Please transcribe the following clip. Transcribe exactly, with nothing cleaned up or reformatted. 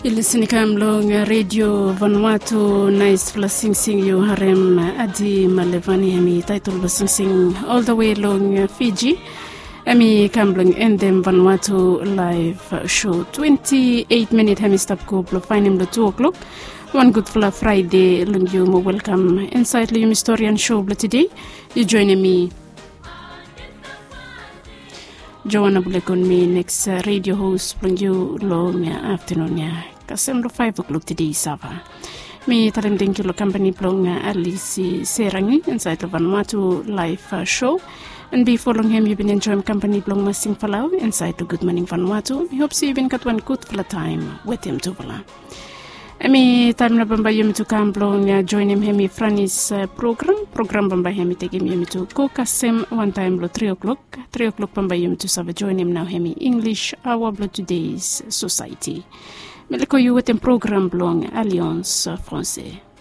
Yu lisin i kam long redio Vanuatu. Naispela singsing yu harem, Adi Malevani, hem i taitol blong singsing ol the way long Fiji. Hem i kam blong endem Vanuatu live show. Twenti eit minit hem i stap go blong faenem long tu o'klok. Wan gudfala Fraide long yu mo welkam insaed long yumi storian show blong tede. Yu joenem mi Joana Bulekon mi neks redio hos blong yu long aftanun ya kasem long faev o'klok tede i sava. Mi talem tangkiu long kampani blong Alisi Serangi insaed long Vanuatu laef show. An bifo long hem yu bin enjoem kampani blong Masing Falau insaed long Gud Moning Vanuatu. Mi hop se yu bin gat wan gudfala taem wetem tufala. Hem i taem nao bambae yumi tu kam blong joenem hem i Franis program. Program bambae hem i tekem yumi tu go kasem wantaem long tri o'klok. Tri o'klok bambae yumi tu save joenem nao hem i English aoa blong Tudeis Sosaeti. Mi leko yu wetem program blong Alians Franse.